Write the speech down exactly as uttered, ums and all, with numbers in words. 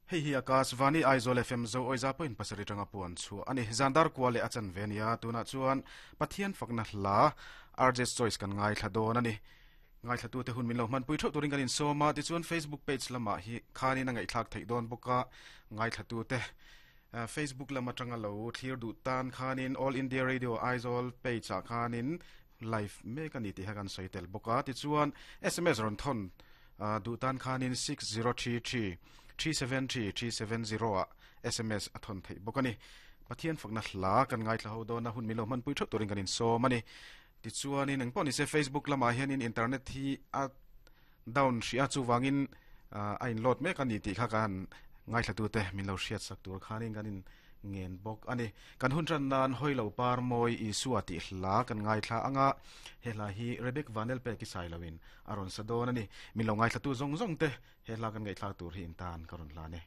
Hei hi Akashvani Aizawl F M zo oiza point pasarih tanga puan chu ani zandar kwale achan venia tuna chuan Pathian fakna hla R J Choice kan ngai thla don ani ngai thla tu te hun min lo man pui thau turin kan in soma ti chuan Facebook page lama hi khani na ngai thlak thei don boka ngai thla tu te Facebook lama tanga lo thlir du tan khanin All India Radio Aizawl page a khanin live me kan ti hakan soitel boka ti chuan S M S ron thon du tan khanin six zero three three three seven three three seven zero a S M S athon thei bokani Pathian fakna hla kan ngai thla ho do na hun milo man pui thau turin kan in so mani ti chuanin engpawh ni se Facebook lama hianin internet hi a down hria chu wangin a in load mek ani tih kha kan ngai thla tu te min lo hriat sak tur khanin kan in ngen bawk ani kan hun tran nan hoilo par moi Isua ti hla kan ngai thla anga he hla hi Rebek Vanel pe ki sai lawin aron sadon ani min lo ngai thla tu zong zong te he hla kan ngai thla tur hi in tan karon hla ne.